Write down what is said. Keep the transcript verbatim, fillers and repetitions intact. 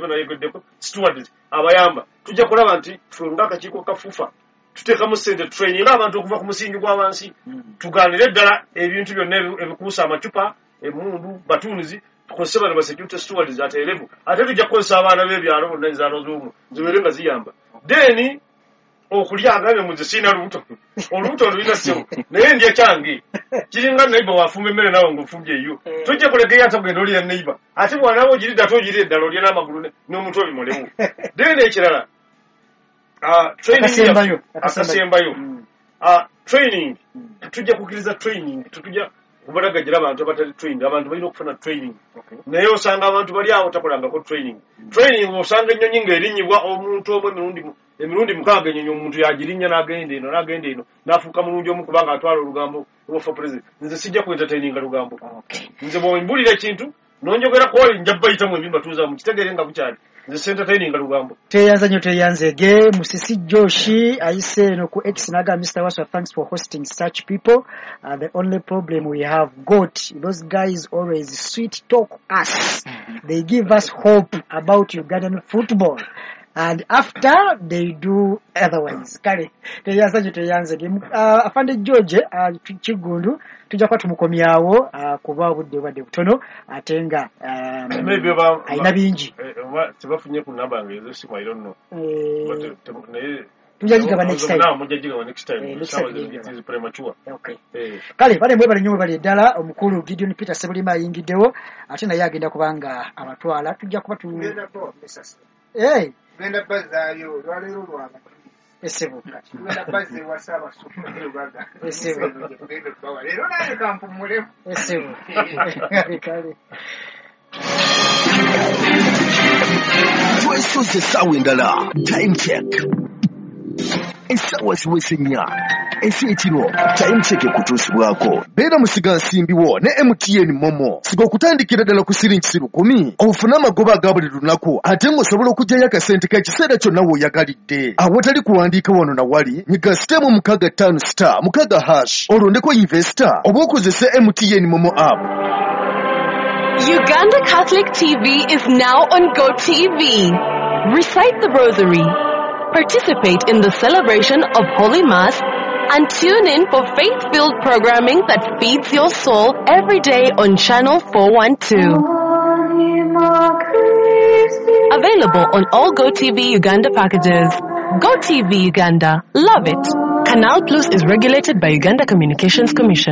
Nga nayogeddeko stewards abayamba, tujja kulaba nti ffe ng'akakiiko ka FUFA tuteekamu ssente training abantu okuva ku musingi gwa wansi, tugaanire ddala ebintu byonna ebikuusa amacupa, emmundu, batuunizi, tukozese bano ba security stewards at a level. Ate tujja kukozesa abaana b'ebyalo bonna, enzaalo z'omu zibeere nga ziyamba. Then okulya, agambye muze sirina lubuto, olubuto olulina ssebo, naye ndya kyange. Kiringa neighbor wafumba emmere naawe ng'ofumbye eyo, tojja kulekeyo ate ogenda olya neighbor. Ate bw'anaaba ogiridde, ate ogirye eddala, olye n'amagulu n'omutwe obimolewo. Then ekirala, training, akasembayo, training. Tujja kukkiriza training, tetujja kubalagagira abantu abatali trained. Abantu balina okufuna training, naye osanga abantu bali awo takolangako training. Training, osanga ennyonyi ng'erinnyibwa omuntu omu emirundi emirundi mukaaga. Ennyonyi omuntu yagirinnya n'agenda eno n'agenda eno n'afuuka mulungi omu kubanga atwala olugambo lwafa president. Nze sijja ku entertaininga lugambo. Nze bw'ombulira ekintu nonjogera kwoli, nja bayitamu embi mbatuuza mukitegeere nga bukyali. Nze si entertaininga lugambo. Teyanza nnyo, teyanzege. Musisi Joshi ayise eno ku X naga, "Mister Waswa, thanks for hosting such people. uh, the only problem we have got, those guys always sweet talk us. They give us hope about Ugandan football and after they do otherwise." Kale teyanza nnyo, teyanzege. uh, afande George uh, Kigundu tujja kuba tumukomyawo uh, kuba obudde bubadde butono ate nga um, Maybe oba- alina bingi. Eh, oba tebafunye ku namba yange ez'essimu, I don't know. Eh, But, te- naye tujja gigaba next time. Now, mujja gigaba next time. Eh, next Essaawa time zino, it is premature. Okay. Eh, kale bale mwebale nnyo, mwebale ddala. Omukulu Gideon Peter Sebulima ayingiddewo, ate naye agenda kubanga abatwala. Tujja kuba tu Tugenda kuba mesasi. Eh, Tugenda bazaayo olwaleero lwabatulizi. Esebo. Tugenda bazza ewa Ssaabasumba Lubaga. Esebo. Tugenda okubawa leero, nange kampumulemu. Esebo, kale kale. Twesoze essaawa endala, Time Check. Essaawa ziweze nnya ez'ekiro. Time Check ekutuusibwako beera musigansimbi wo ne M T N MoMo. Siga okutandikira ddala ku siringisi lukumi ofune amagoba aga buli lunaku, ate ng'osobola okuggyayo akasente k'ekiseera kyonna w'oyagalidde awatali kuwandiika wano na wali. Nyiga star mukaaga ttaano star mukaaga hash, olondeko investor oba okozese M T N MoMo app. Uganda Catholic T V is now on GoTV. Recite the Rosary, participate in the celebration of Holy Mass, and tune in for faith-filled programming that feeds your soul every day on Channel four one two. Available on all GoTV Uganda packages. GoTV Uganda. Love it. Canal Plus is regulated by Uganda Communications Commission.